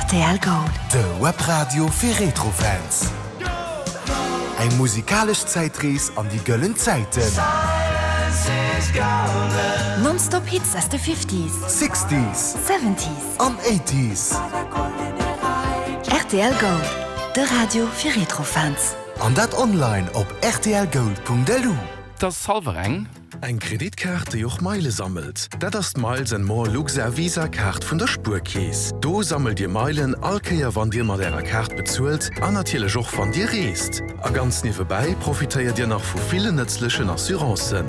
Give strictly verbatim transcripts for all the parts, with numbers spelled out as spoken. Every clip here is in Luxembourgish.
Rtl Gold. De Webradio fir Retrofans. Eng musikalesch Zäitrees an déi gëllen Zäiten. Non-stop Hits aus de Fifties, Sixties Seventies an Eighties. Rtl Gold, de Radio fir Retrofans. An dat online op rtlgold.lu. 't ass hallwer eng. Eng Kreditkaart, déi och Meile sammelt? Dat ass d'Miles and More Luxair Visa Kaart vun der Spuerkeess. Do sammelt Dir Meilen all Kéier wann Dir mat Ärer Kaart bezuelt an natierlech och wann Dir reest. A ganz niewebäi profitéiert Dir nach vu villen nëtzlechen Assurancen.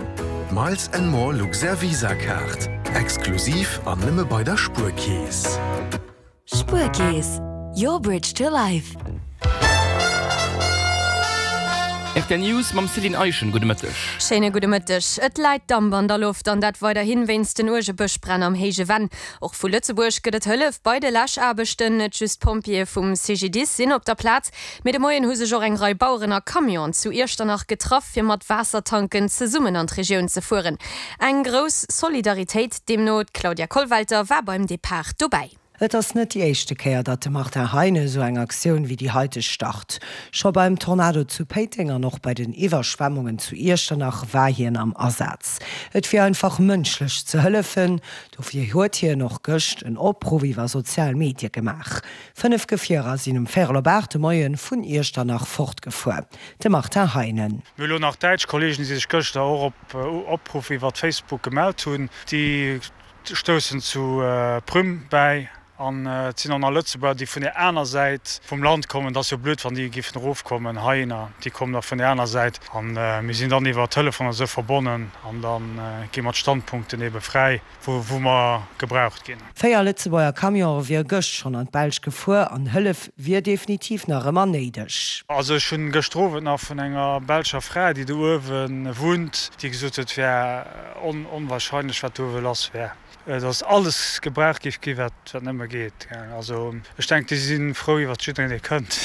D'Miles and More Luxair Visa Kaart, exklusiv an nëmme bei der Spuerkeess. Spuerkeess, your bridge to life. Rtl News mam Céline Eischen, gudde Mëtteg. Schéine gudde Mëtteg. Et läit Damp an der Loft an dat weiderhin wéinst den uerge Bëschbränn am Héije Venn. Och vu Lëtzebuerg gëtt et Hëllef bei de Läschaarbechten. Net just d'Pompjeeë vum CGDIS sinn op der Plaz, mee de Moien hu sech och eng Rei Baueren a Camionen zu Iechternach getraff, fir mat Waassertanken zesummen an d'Regioun ze fueren. Eng grouss Solidaritéit deemno. D'Claudia Kollwelter war beim Depart dobäi. Et ass net déi éischte Kéier, datt de Martin Heinen esou eng Aktioun wéi déi haiteg start. Scho beim Tornado zu Péiteng an och bei den Iwwerschwemmungen zu Iechternach war hien am Asaz. Et wier einfach mënschlech ze hëllefen, dofir huet hien och gëscht en Opruff iwwer sozial Medie gemaach. Fënnef Gefierer sinn um véierel op aacht de Moie vun Iechternach fortgefuer. De Martin Heinen. Mir hu lo nach däitsch Kollegen, déi sech gëschter och op Opruff iwwer Facebook gemellt hunn. Déi stoussen zu Prüm bäi. An et sinn och nach Lëtzebuerger, déi vun där aner Säit vum Land kommen. Et ass jo blöd, wann déi géifen erofkommen heihinner. Déi kommen da vun där aner Säit. A mir sinn dann iwwer Telefon a sou verbonnen an da gi mer d'Standpunkten ebe fräi, wou wou mer gebraucht ginn. Véier Lëtzebuerger Camionë wiere gëscht schonn an d'Belsch gefuer an Hëllef wier definitiv nach ëmmer néideg. Also ech hunn gëschter Owend nach vun enger belscher Fra, déi do uewe wunnt, déi gesot huet, et wär onwahrscheinlech, wat do uewe lass wär. Dass alles gebraucht géif gi wat nëmme geet. Also ech denken, déi si frou iwwert jiddereen, dee kënnt.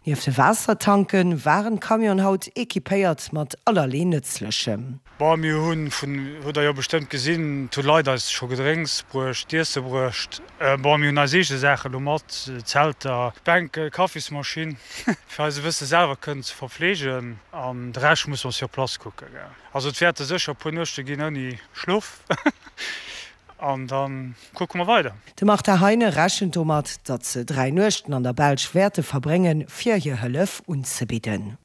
Nieft de Waassertanke waren d'Camionen haut equipéiert mat allerlee Nëtzlechem. Bon, mir hu vun, hutt Der jo bestëmmt gesinn, et hu Leit eis scho Gedrénks bruecht, d'Iesse bruecht. Bon, mir hunn eis eege Saache lo mat, Zelter, Bänke, Kaffismaschinn, fir eis e bësse selwer kënnen ze verfleegen. An de Rescht musse mer sur place kucken. Also et wäerte sécher e puer Nuechte ginn ouni Schlof. An da kucke mer weider. De Martin Heine rechent domat, datt se dräi Nuechten an der Belsch wäerte verbréngen, fir hir Hëllef unzebidden.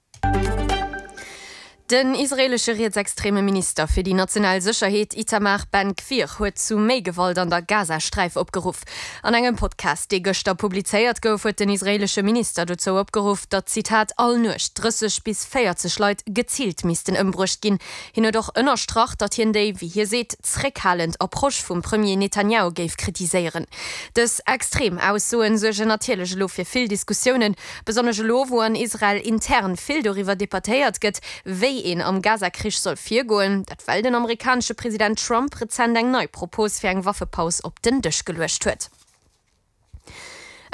Den israeelesche rietsextreme Minister fir déi national Sécherheet Itamar Ben-Gvir huet zu méi Gewalt an der Gazasträif opgeruff. An engem Podcast, dee gëschter publizéiert gouf, huet den israeelesche Minister dozou opgeruff, datt, Zitat, all Nuecht drësseg bis véierzeg Leit geziilt missten ëmbruecht ginn. Hien huet och ënnerstrach, datt hien déi, wéi hie seet, zréckhalend Approche vum Premier Netanjahu géif kritiséieren. Dës extrem Aussoen suergen natierlech elo fir vill Diskussiounen, besonnesch elo, wou an Israel intern vill doriwwer debattéiert gëtt, wéi een am Gaza-Krich soll virgoen. Dat well den amerikanesche President Trump rezent eng nei Propos fir eng Waffepaus op den Dësch geluecht huet.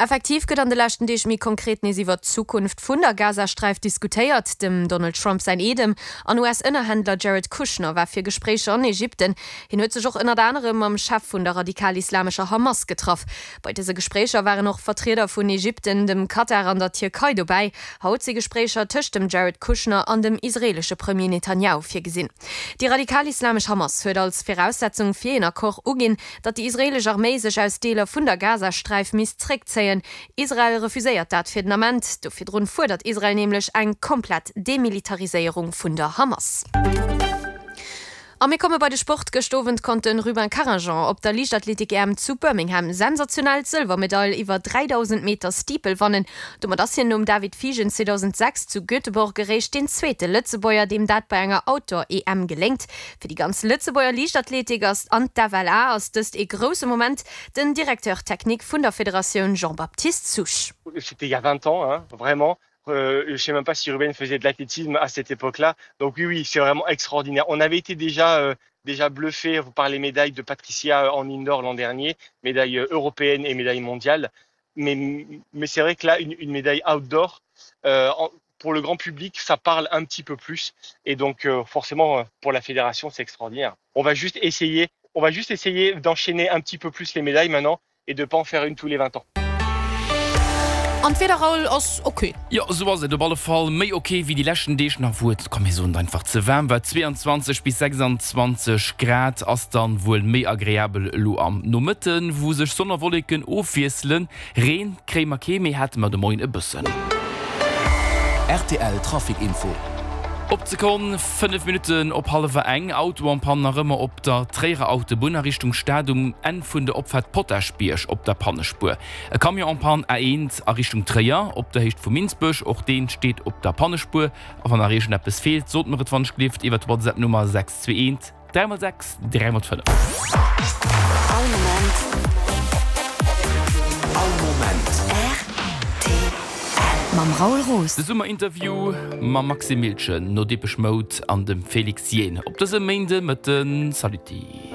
Effektiv gëtt an de leschten Deeg méi konkret nees iwwert d'Zukunft vun der Gazasträif diskutéiert. Dem Donald Trump säin Eedem an U S-Ënnerhändler Jared Kushner war fir Gespréicher an Ägypten. Hien huet sech och ënnert anerem mam Chef vun der radikal-islamescher Hamas getraff. Bei dëse Gespréicher waren och Vertrieder vun Ägypten, dem Katar an der Tierkei dobäi. Haut si Gespréicher tëscht dem Jared Kushner an dem israeelesche Premier Netanjahu virgesinn. Déi radikal-islamesch Hamas huet als Viraussetzung fir een Accord uginn, datt déi israeelesch Arméi sech aus Deeler vun der Gazasträif misst zréckzéien. Israel refuséiert dat fir den Ament. Do virdrun fuerdert Israel nämlech eng komplett Demilitariséierung vun der Hamas. A mir komme bei de Sport. Gëscht Owend konnt de Rubin Carignan op der Liichtathletik-E M zu Birmingham sensationell d'Sëlwermedail iwwer dräidausend Meter Steeple wannen. Domat ass hien nom David Fiegen zweedausendsechs zu Göteborg eréischt deen zweete Lëtzebuerger, deem dat bei enger Outdoor-E M geléngt. Fir déi ganz Lëtzebuerger Liichtathletik ass an d'F L A ass dëst ee grousse Moment. Den Directeur technique vun der Federatioun Jean-Baptiste Souche. C'était il y a vingt ans, hein, vraiment. Euh, je sais même pas si Ruben faisait de l'athlétisme à cette époque-là. Donc oui, oui, c'est vraiment extraordinaire. On avait été déjà, euh, déjà bluffé par les médailles de Patricia euh, en indoor l'an dernier, médaille euh, européenne et médaille mondiale. Mais, mais c'est vrai que là, une, une médaille outdoor, euh, en, pour le grand public, ça parle un petit peu plus. Et donc euh, forcément, pour la fédération, c'est extraordinaire. On va juste essayer, on va juste essayer d'enchaîner un petit peu plus les médailles maintenant et de pas en faire une tous les vingt ans. An d'Wieder, Raoul, ass ok. Jo, esou ass et op alle Fall méi ok wéi déi leschten Deeg nach, wou et, komm mir soen et einfach, ze waarm war. zweiundzwanzeg bis sechsandzwanzeg Grad ass dann wuel méi agreabel elo am Nomëtten, wou sech Sonn a Wolleken ofwiesselen. Reen kréie mer kee méi, hate mer de Moien e bëssen. Rtl Trafic Info. Op d'Sekonn, fënnef Minutten op hallwer eng, Auto en panne nach ëmmer op der Tréierer Autobunn a Richtung Stad um Enn vun der Opfaart Potaschbierg op der Pannespuer. E Camion en panne A eent a Richtung Tréier op der Héicht vu Minsbech, och deen steet op der Pannespuer. A wann nach iergendeppes feelt, sot mer et wann ech gelift iwwer d'Whatsapp-Nummer sechs zwee eent dräi mol sechs dräi mol fënnef. All Moment. All Moment. Rtl. Mam Raoul Roos. De Summerinterview mam Maxime Miltgen no Depeche Mode an dem Félix Jaehn op dësem Méinde Mëtten. Saluti.